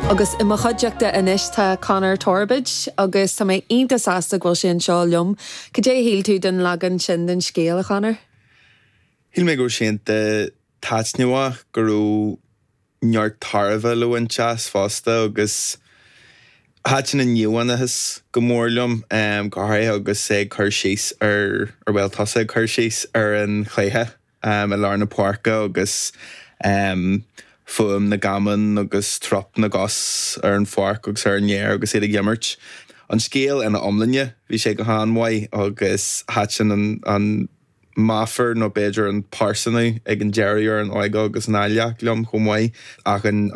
Agus i mo chuideachta anois tá Conor Torbóid agus tá mé iontach sásta go bhfuil sé anseo liom. Cad é a shíl tú den leagan sin den scéal, a Chonor? Shíl mé go raibh sé iontach taitneamhach, go raibh neart tairbhe le baint as fosta agus thaitin an íomhánachas go mór liom, go háirithe agus é ag cur síos ar, bhuel, tusa ag cur síos ar an chluiche i lár na páirce agus fuaim na gcamán agus trup na gcos ar an pháirc agus ar an fhéar agus iad ag imirt. An scéal ina iomláine, bhí sé go han-mhaith agus thaitin an meafar nó b'fhéidir an pearsanú ag an deireadh ar an óige agus an áilleacht liom chomh maith ach an.